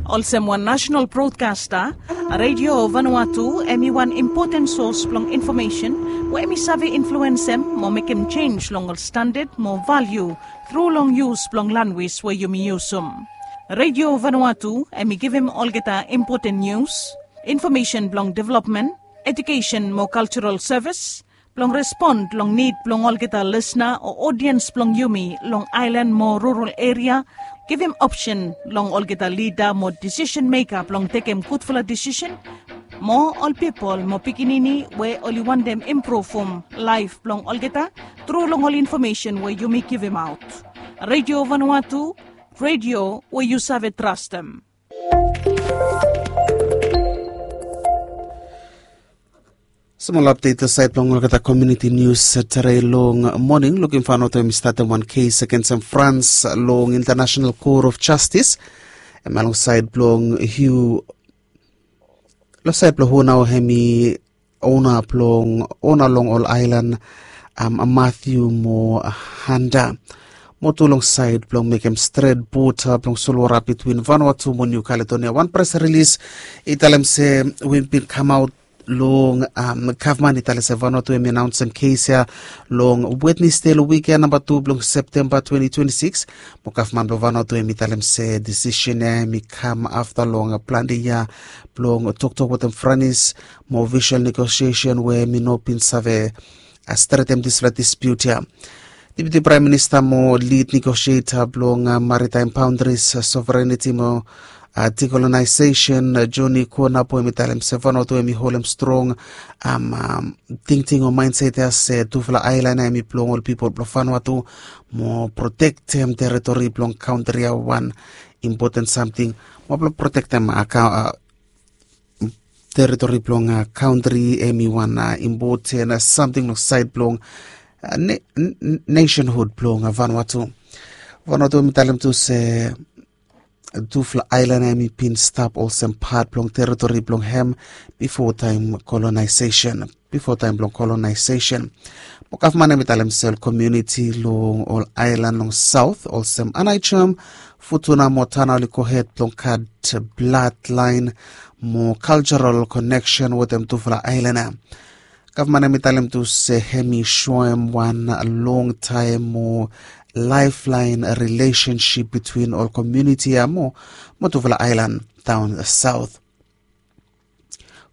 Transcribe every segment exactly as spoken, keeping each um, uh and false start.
Olsem wan nasenal brodkasta, Redio Vanuatu em i wan impoten sos blong infomesen we em i save influensem mo mekem jenis long ol standad mo valiu tru long yus blong lanwis we yumi yusum. Redio Vanuatu em i givim olgeta impoten nius, infomesen blong developmen, ejukesen mo kaljaral sevis, blong respon long nid blong olgeta lisna o odiens blong yumi long aelan mo rural eria, givim opsen long olgeta lida mo disisen meka blong tekem gudfala disisen, mo ol pipol mo pikinini we oli wantem impruvum laef blong olgeta tru long ol infomesen we yumi givimaot. Redio Vanuatu, redio we yu save trastem. Smol apdet long saed blong olgeta komuniti nius. Tere long moning lukim faonaot we mi statem wan kes agensem Frans long International Court of Justice. Em ya long saed blong Hugh, long saed blong hu nao hem i ona blong ona long ol aelan, Matthew mo Handa, mo tu long saed blong mekem stret bota blong solwota bitwin Vanuatu mo Niu Kaledonia. Wan pres rilis i talem se we bin kamaot long gavman i talem se Vanuatu hem i anaonsem kes ya long Wednesde long wiken namba tu blong Septemba twenti twenti sikis. Mo gavman blong Vanuatu hem i talem se disisen ya hem i kam afta long plante yia blong toktok wetem Franis mo ofisol negosiesen we hem i no bin save stretem disfala dispiut ya. Deputi Praem Minista mo lid negosieta blong maritaem baondris, sovereniti mo dikolonaesesen, Joni Kuonapo hem i talem se Vanuatu hem i holem strong tingting o maenset ya se tufala aelan ya hem i blong ol pipol blong Vanuatu, mo protektem teritori blong kantri ya wan impoten samting, mo blong protektem teritori blong kantri hem i wan impoten samting long saed blong nesenhud blong Vanuatu. Vanuatu hem i talem tu se tufala aelan ya hem i bin stap olsem pat blong teritori blong hem bifo taem kolonaesesen, bifo taem blong kolonaesesen. Mo gavman hem i talem se ol komuniti long ol aelan long saot olsem Aneityum, Futuna mo Tanna oli gohed blong gat bladlaen mo kaljaral koneksen wetem tufala aelan ya. Gavman hem i talem tu se hem i soem wan longtaem mo laeflaen rilesensip bitwin ol komuniti ya mo tufala aelan daon saot.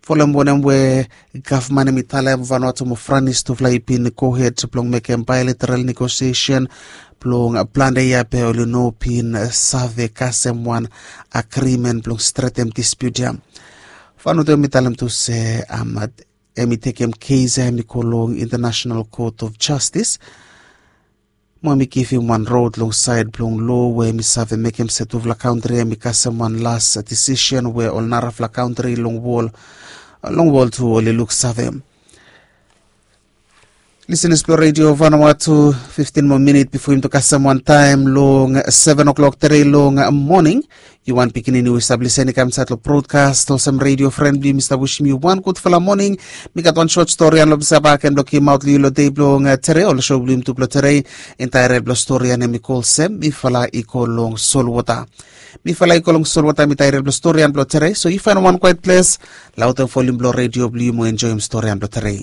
Folem wanem we gavman hem i talem, Vanuatu mo Franis tufala i bin gohed blong mekem baelateral negosiesen blong plante yia be oli no bin save kasem wan agrimen blong stretem dispiut ya. Vanuatu hem i talem tu se hem i tekem kes ya hem i go long International Court of Justice. Mo hem i givim wan rod long saed blong loa we hem i save mekem se tufala kantri hem i kasem wan las disisen we ol narafala kantri long wol, long wol tu oli luksave. Lisenas blong Redio Vanuatu, fiftin moa minit bifo yumi tu kasem wan taem long seven o'clock tere long moning. Yu wan pikinini we yu save lisin i kam insaed long brodkas olsem redio fren blong yu, mi stap wisim yu wan gudfala moning. Mi gat wan sot stori ya long mi save baken blong givimaot long yu long dei blong tere. Ol so blong yumi tu blong tere, intaetel blong stori ya hem i go olsem, mifala i go long solwota. Mifala i go long solwota, mi taetel blong stori ya blong tere. So yu faenem wan kwaet ples, laotem volim blong redio blong yu mo enjoem stori ya blong tere.